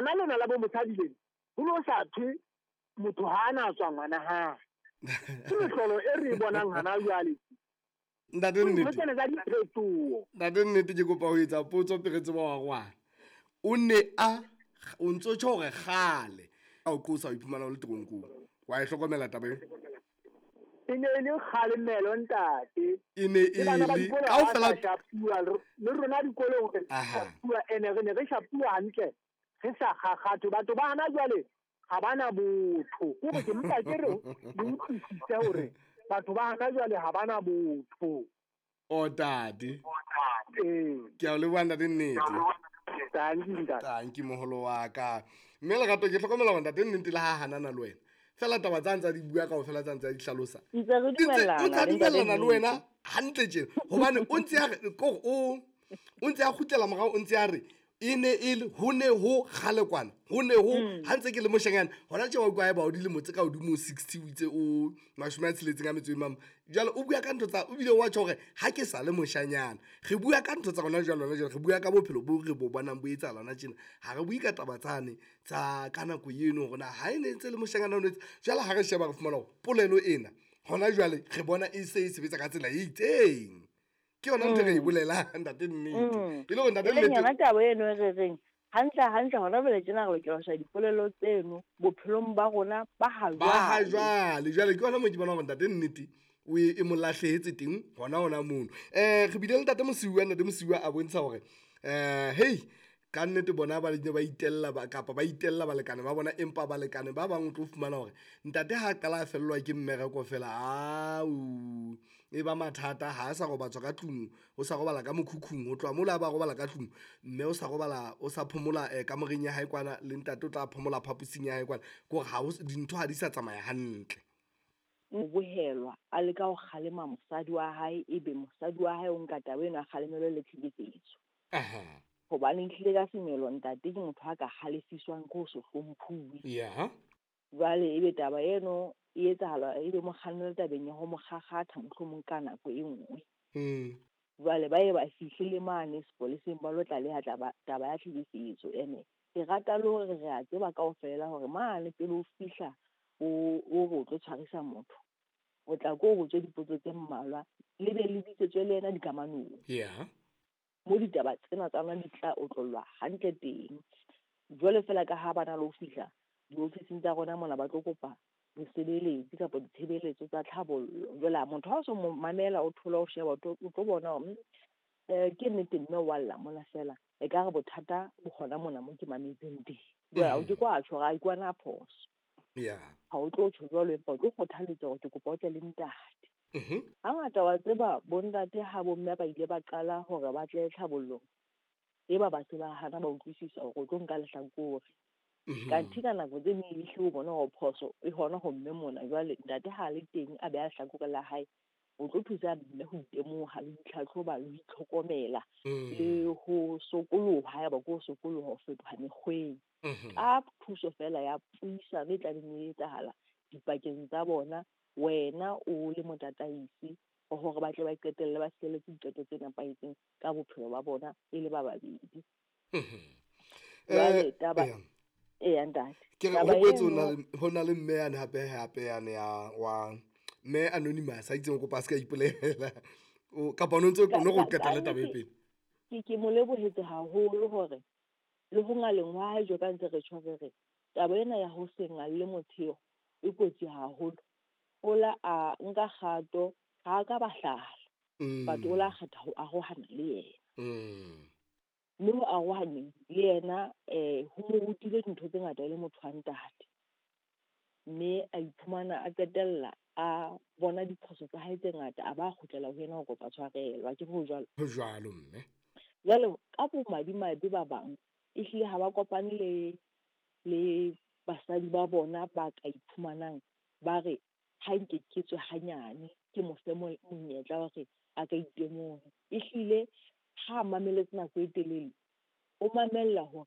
Lona lena la bo mosadi lena, ho no sa thwe motho ha a na tswa ngwana hae. Ke mehlolo e re e bonang hana jwale. Ntate Nnete. Tsena tsa diphetoho. Ntate Nnete, ke kopa ho etsa potso pele re tseba wa rwana. O ne a o ntso tjho hore kgale a o qosa o iphumana o le teronkong. Wa e hlokomela taba eo? E ne e le kgalemelo ntate. E ne e Le bana ba le dikolo ha ba kaofela sa shapuwa, le rona dikolong re shapuwa, ene re ne re shapuwa hantle, re sa kgakgathe. Batho ba hana jwale ha bana botho. Ke hore ke mpa ke re le utlwisise hore batho ba hana jwale ha bana botho. O tate. Ee. Ke a o leboha ntate Nnete. Thank you, ntate. Thank you, moholo wa ka. Mme Lerato, ke hlokomela hore ntate Nnete le ha hanana le wena. Fela taba tsa ntsa di bua kaofela tsa ntsa di hlalosa. Ntse re Di ntse- dumellana o ntsa le ntate dumellana le wena Nnete. hantle tjena. Hobane o ntse a re, ko o, o ntse a kgutlela morao, o ntse a re, e ne e le, ho ne ho kgale kwana, ho ne ho, ha ntse ke le moshanyana, hona tje wa utlwa haeba o dilemo tse ka hodimo ho 60, o itse o 65 e mama. Jwale o bua ka ntho tsa, o bile wa tjho hore ha ke sa le moshanyana. Re bua ka ntho tsa rona jwale, hona jwale, re bua ka bophelo bo re bo bonang bo etsahala hona tjena. Ha re bue ka taba tsane tsa ka nako eno hore na ha e ne ntse le moshanyana o ne etse. Jwale ha re sheba re fumana hore polelo ena hona jwale re bona e se e sebetsa ka tsela e itseng. Ke yona ntho e re e bolelang, ntate Nnete. E le hore ntate E leng Nnete yona taba eno e re reng, hantle hantle hona jwale tjena re lokela ho sheba dipolelo tseno bophelong ba rona ba ha Ba ha jwale. jwale. Jwale ke yona moo ke bonang hore ntate Nnete o e mo lahlehetse teng hona hona mono. Re bile le ntate Mosiuwa, ntate Mosiuwa a bontsha hore, hey, ka nnete bona ba ne ba itella ba, kapa ba itella balekane ba bona, empa balekane ba bang o tlo fumana hore ntate ha a qala a fellwa ke mmereko fela, au, e ba mathata, ha a sa robatswa ka tlung, o sa robala ka mokhukhung, ho tloha mola a ba robala ka tlung, mme o sa robala, o sa phomola, kamoreng ya hae kwana, le ntate o tla phomola phaposing ya hae kwana, ke hore ha ho dintho ha di sa tsamaya hantle. O bohelwa a leka ho kgalema mosadi wa hae, ebe mosadi wa hae o nka taba eno a kgalemelwe le tlhekefetso. Hobane ehlile ka semelo ntate ke motho a ka halefiswang ke ho se hlomphuwe. Jwale ebe taba eno e etsahala, ebe mo kgannela tabeng ya ho mo kgakgatha mohlomong ka nako e nngwe. Jwale ba ye ba fihle le mane sepoleseng ba lo tlaleha taba ya tlhekefetso. Ene ke rata le hore re a tseba kaofela hore mane pele o fihla o re o tlo tshwarisa motho, o tla ko o botswe dipotso tse mmalwa, le be le bitsetswe le yena dikamanong. Mo ditaba tsena tsa rona di tla otlollwa hantle teng. Jwale feela ka ha ba na le ho fihla diofising tsa rona mona ba tlo kopa bosebeletsi kapa ditshebeletso tsa tlhabollo. Jwale ha motho ha o so mo mamela, o thola o sheba, o tlo bona hore, ke nnete mme wa lla mona feela, ekare bothata bo hona mona mo ke mametseng teng. Jwale o ke kwa tjho hore ha ke kwana phoso. Ha o tlo tjho jwalo, empa o tlo kgothaletsa hore ke kopa o tle le ntate. Hangata wa tseba bontate ha bomme ba ile ba qala hore ba tle tlhabollong, e ba ba se ba hana ba utlwisisa hore o tlo nka lehlakore. Kanthe ka nako tse ding ehlile o bona hore phoso e hona ho mme mona. Jwale ntate ha le teng a beha lehlakore la hae, o tlo thusa mme ho itemoha le ho itlhatlhoba le ho itlhokomela le ho sokoloha, haeba ke ho sokoloha ho fetoha mekgweng. Ka thuso fela ya puisano e tlabeng e etsahala dipakeng tsa bona, wena o le motataisi hore ba tle ba qetelle ba fihlelletse diqeto tse nepahetseng ka bophelo ba bona e le ba babedi. Jwale taba Eya, ntate. Ke re, Taba ho boetse eno ho na le mme yane hape, hape yane ya wa mme Anonymous, a itseng o kopa a se ka ipolela. O, kapa o no ntse o no re o qetelle taba e pele. Ke mo lebohetse haholo hore le ho ngaleng wa hae jwalo ka ntse re tjho re re, taba ena ya ho se ngalle motsheo e kotsi haholo. O la a nka kgato, ha a ka ba hlala. But o la kgetha ho arohana le yena. Mme ho arohaneng le yena, ho mo rutile dintho tse ngata e le motho wa ntate. Mme a iphumana a qetella a bona diphoso tsa hae tse ngata, a ba kgutlela ho yena ho kopa tshwarelo. Ha ke re ho jwalo? Ho jwalo, mme. Jwale ka bomadimabe ba bang, ehlile ha ba kopane le basadi ba bona ba ka iphumanang ba re ha nke ke tswe hanyane, ke mo fe monyetla wa hore a ka itemoha. Ehlile ha a mameletse nako e telele, o mamella hore